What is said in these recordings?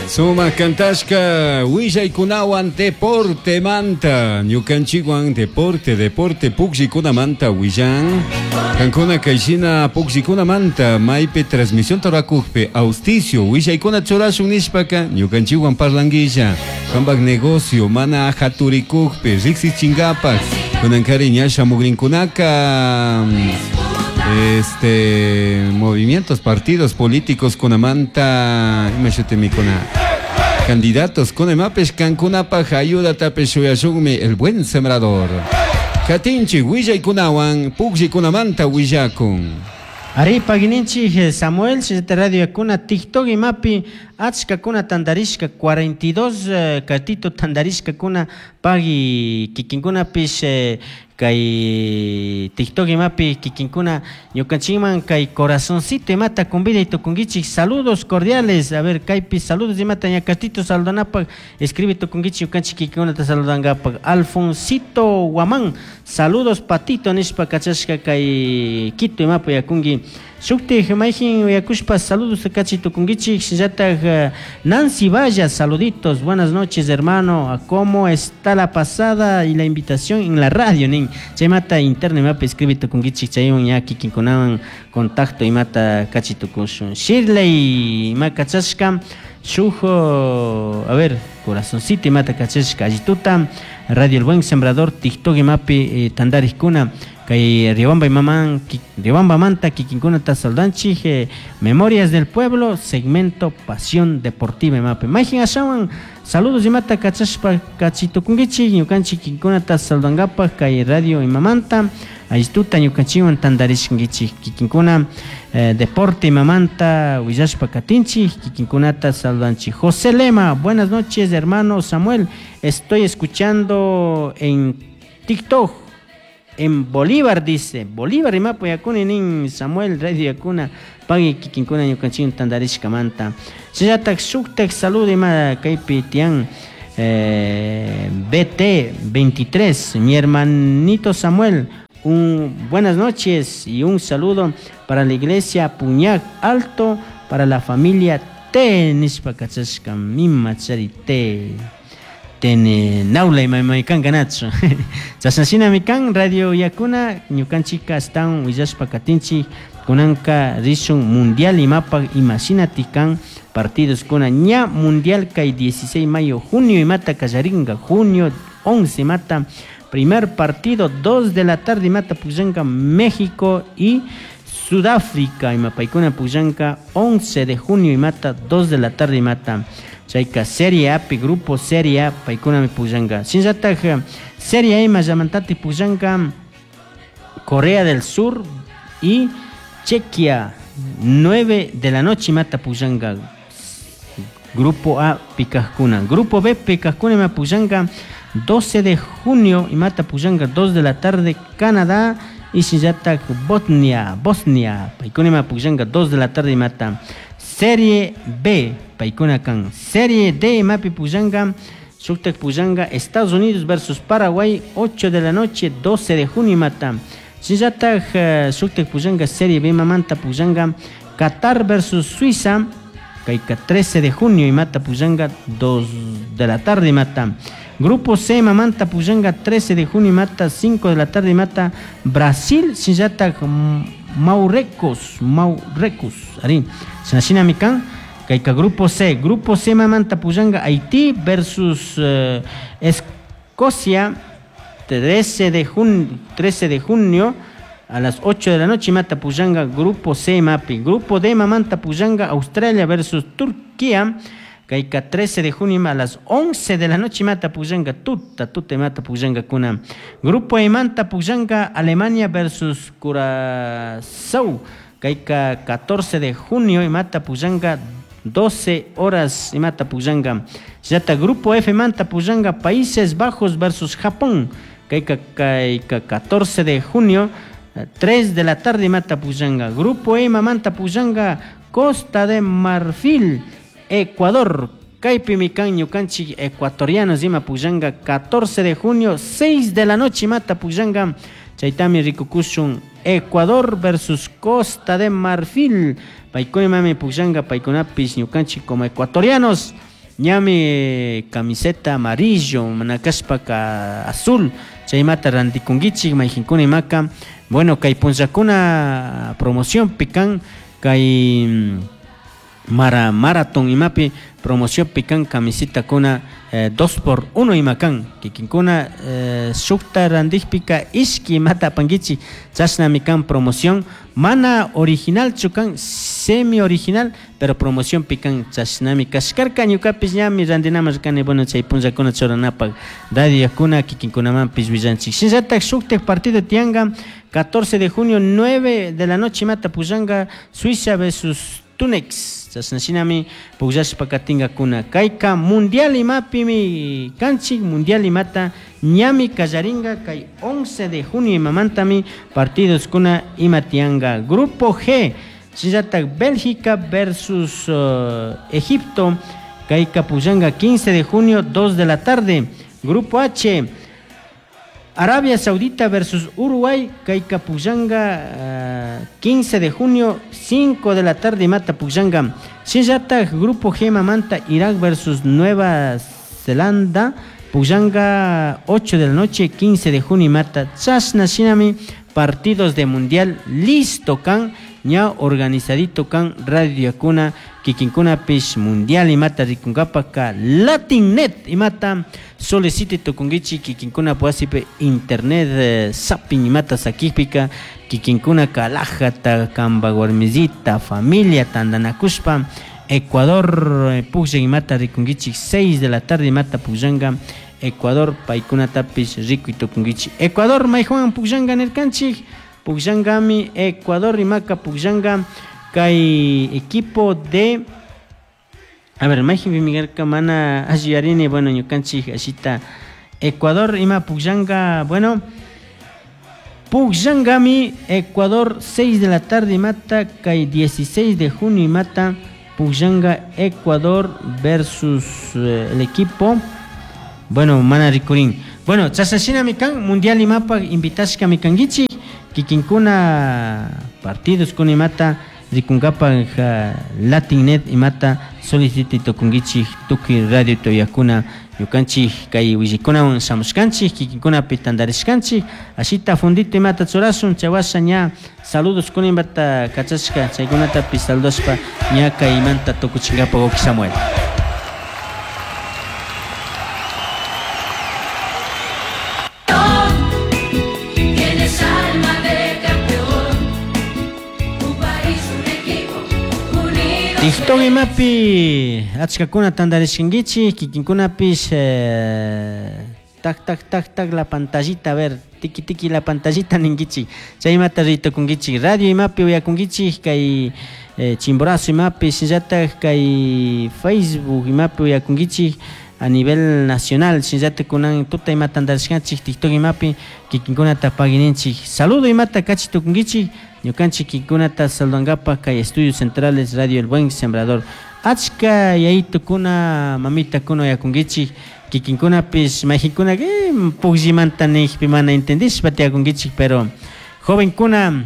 Sumak kantashka willaykunawan deportemanta ñukanchikwan deporte deporte puklliykunamanta willan kankuna kayshina puklliykunamanta maypi transmisionta rurakukpi auspicio willaykuna churashun nishpaka ñukanchikwan parlanguilla kampak negocio mana haturikukpi riksichinkapak kunankari ña shamukrinkunaka este movimientos partidos políticos kunamanta ima shutimikuna candidatos kunamapish kankunapak ayudatapish shuyashunmi El Buen Sembrador katinchik willaykunawan pukllaykunamanta willakun. Ari pagininchik Samuel shinallata radio yakuna TikTok imapi achkakuna tantarishka 42 katito tantarishkakuna pagui kikinkunapish kay TikTok imapi kikinkuna ñukanchikman kay corazoncito imata conviday tukunkichik saludos cordiales a ver kaypi saludos imata ña katito saludanapak escribe tukunkichik ñukanchik kikinkunata saludankapak Alfonsito Guamán saludos patito nishpa kachashka kay Quito imapi yakunki shuktik mayjin uyakushpa saludos kachi tukunkichik shinallatak Nancy Valla saluditos buenas noches hermano cómo está la pasada y la invitación en la radio nin chaymata internet imapi escribe tukunkichik chaywan ña kikinkunawan contacto imata kachi tukushun Shirley ima kachashka shuk a ver corazoncito imata kachashka allituta Radio El Buen Sembrador TikTok imapi tantarikkuna kay Riobamba imaman Riobambamanta kikinkunata saludanchik Memorias del Pueblo segmento Pasión Deportiva imapi mayjin ashawan saludos imata kachashpa kachitukunkichik ñukanchik kikinkunata saludankapak kay radio imamanta allituta ñukanchikwan tantarishkankichik kikinkuna deporte imamanta willashpa katinchik kikinkunata saludanchik José Lema buenas noches hermano Samuel estoy escuchando en TikTok en Bolívar dice Bolívar imapi yakuni nin Samuel radio yakuna pagui kikinkuna ñukanchikwan tantarishkamanta shinallatak shuktak saludo ima kaypi tiyan BT 23 mi hermanito Samuel un buenas noches y un saludo para la iglesia Puñac Alto para la familia T nishpa kachashka mimachari T tene naula ima kanka nachu chashna shinami kan radio yakuna ñukanchika astawan willashpa katinchik kunanka rishun mundial imapak imashinatik kan partidos kuna ña mundial kay 16 mayo junio imata kallarinka junio 11 imata primer partido 2 de la tarde imata pukllanka México y Sudáfrica ima paykuna pukllanka 11 de junio imata 2 de la tarde imata chayka Serie A pi grupo Serie A paykunami pukllanka shinallatak Serie A ima llamantatik pukllanka Corea del Sur y Chequia 9 de la noche imata pukllanka Grupo A pikajkuna Grupo B pikajkuna ima pukllanka 12 de junio imata pukllanka 2 de la tarde Canadá y shinallatak Bosnia Bosnia paykuna ima pukllanka 2 de la tarde imata Serie B paykuna kan Serie D imapi pukllanka shuktak pukllanka Estados Unidos versus Paraguay 8 de la noche 12 de junio imata shinallatak shuktak pukllanka Serie B imamanta pukllanka Qatar versus Suiza kayka 13 de junio imata pukllanka 2 de la tarde imata Grupo C imamanta pukllanka 13 de junio imata 5 de la tarde imata Brasil shinallatak Marruecos Marruecos ari shina shinami kan kayka Grupo C Grupo C imamanta pukllanka Haití versus Escocia 13 de 13 de junio a las 8 de la noche imata pukllanka Grupo C imapi Grupo D imamanta pukllanka Australia versus Turquía kayka 13 de junio a las 11 de la noche imata pukllanka tuta tuta imata pukllankakuna Grupo E imanta pukllanka Alemania versus Curazao kayka 14 de junio imata pukllanka 12 horas imata pukllanka shinallatak Grupo F imanta pukllanka Países Bajos versus Japón kayka kayka 14 de junio 3 de la tarde imata pukllanka Grupo E imamanta pukllanka Costa de Marfil Ecuador kaypimi kan ñukanchik ecuatorianos ima pukllanka 14 de junio 6 de la noche imata pukllanka chaytami rikukushun Ecuador versus Costa de Marfil paykuna imami pukllanka paykunapish ñukanchik como ecuatorianos. Ñami camiseta amarillo, manakashpaka azul, chaymata rantikunkichik mayqinkuna imaka. Bueno, kay punllakuna promoción pican kay maratón imapi promoción pican camiseta kuna 2x1 imakan kikinkuna shukta randikpika ishki imata apankichik chashnami kan promoción mana original chukan semi original pero promoción pican chashnami kashkarka ñukapish ñami randinaman kani bueno chay punllakuna churanapak radiokuna kikinkunamanpish willanchik shinallatak shuktak partido tiyanka 14 de junio 9 de la noche imata pullanka Suiza versus Tunex chashna shinami pukllashpa katinkakuna kayka mundial imapimi kanchik mundial imata ñami kallarinka kay 11 de junio imamantami partidos kuna ima tiyanka grupo G shinallatak Bélgica versus Egipto kayka pukllanka 15 de junio 2 de la tarde grupo H Arabia Saudita versus Uruguay, kayka pukllanka 15 de junio, 5 de la tarde mata pukllanka. Shinallatak Grupo G mamanta Irak versus Nueva Zelanda, pukllanka 8 de la noche, 15 de junio mata. Chashna shinami partidos de mundial listo kan, ña organizadito kan Radio Yakuna, kikinkunapish mundial imata rikunkapaka Latinnet imata solicite tukunkichik kikinkuna wasipi internet zapping imata sakikpika kikinkuna kalajata kanpak warmisita familia tantanakushpa Ecuador pukllan imata rikunkichik 6 de la tarde imata pukllanka Ecuador paykunatapish rikuy tukunkichik Ecuador mayjuan pukllanka nirkanchik pukllankami Ecuador imaka pukllanka kay equipo de a ver mayjinpi karka mana alli yuyarini bueno ñukanchik ashita Ecuador ima pukllanka bueno pukllankami Ecuador 6 de la tarde imata kay 16 de junio imata pukllanka Ecuador versus el equipo bueno mana rikurin bueno chashna kan mundial imapa invitashkami kankichik kikinkuna partidos kuna imata rikunkapak Latinnet imata solicite tukunkichik tukuy radio tuyakuna ñukanchik kay willikunawan shamushkanchik kikinkunapi tantarishkanchik ashita fundito imata churashun chawasha ña saludos kuna imata kachashka chaykunatapish saludashpa ña kaymanta tukuchinkapak wawki Samuel. Tienes alma de campeón, un país, un equipo, unidos. TikTok imapi achkakuna tantarishkankichik kikinkunapish tak tak tak tak la pantallita a ver tiki tiki la pantallita ninkichik chaymata ritukunkichik radio imapi uyakunkichik kay Chimborazo imapi shinallatak kay Facebook imapi uyakunkichik a nivel nacional shinallatak kunan tuta imata tantarishkanchik TikTok imapi kikinkunata pagininchik saludo imata kachi tukunkichik ñukanchik kikinkunata saludankapak kay Estudios Centrales Radio El Buen Sembrador achka yayitukuna mamitakuna uyakunkichik kikinkunapish mayqinkuna pukllimanta nijpi mana entendishpa tiyakunkichik pero jovenkuna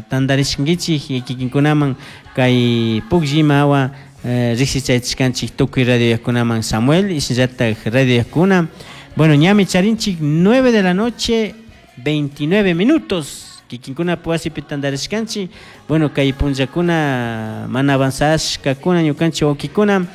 tantarishkankichik kikinkunaman kay pukllima hawa riksichaychishkanchik tukuy radio yakunaman Samuel y shinallatak radio yakuna bueno ñami charinchik 9 de la noche 29 minutos kikinkuna wasipi tantarishkanchik bueno kay punllakuna mana avanzashkakuna ñukanchik wawkikuna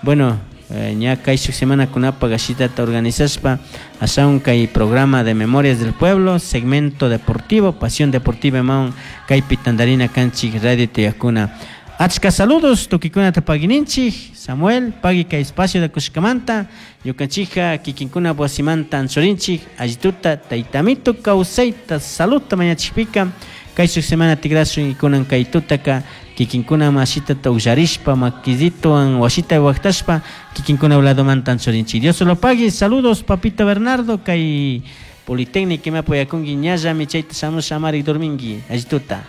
bueno ña kay shuk semanakunapak ashitata organizashpa ashawan kay programa de Memorias del Pueblo segmento deportivo Pasión Deportiva imawan kaypi tantarina kanchik radio tiyakuna achka saludos tukikunata pagininchik Samuel pagi kay espacio de kushkamanta ñukanchikka kikinkuna wasimanta anchurinchik allituta taytamito kawsayta saludta mañachikpika kay shuk semana tikrashun y kunan kay tutaka kikinkuna mashitata ukllarishpa makisituwan wasita waktashpa kikinkuna ladomanta anchurinchik Dios lo pague saludos papito Bernardo kay Politécnica imapi uyakunki ñallami chayta shamush amari dorminki allituta.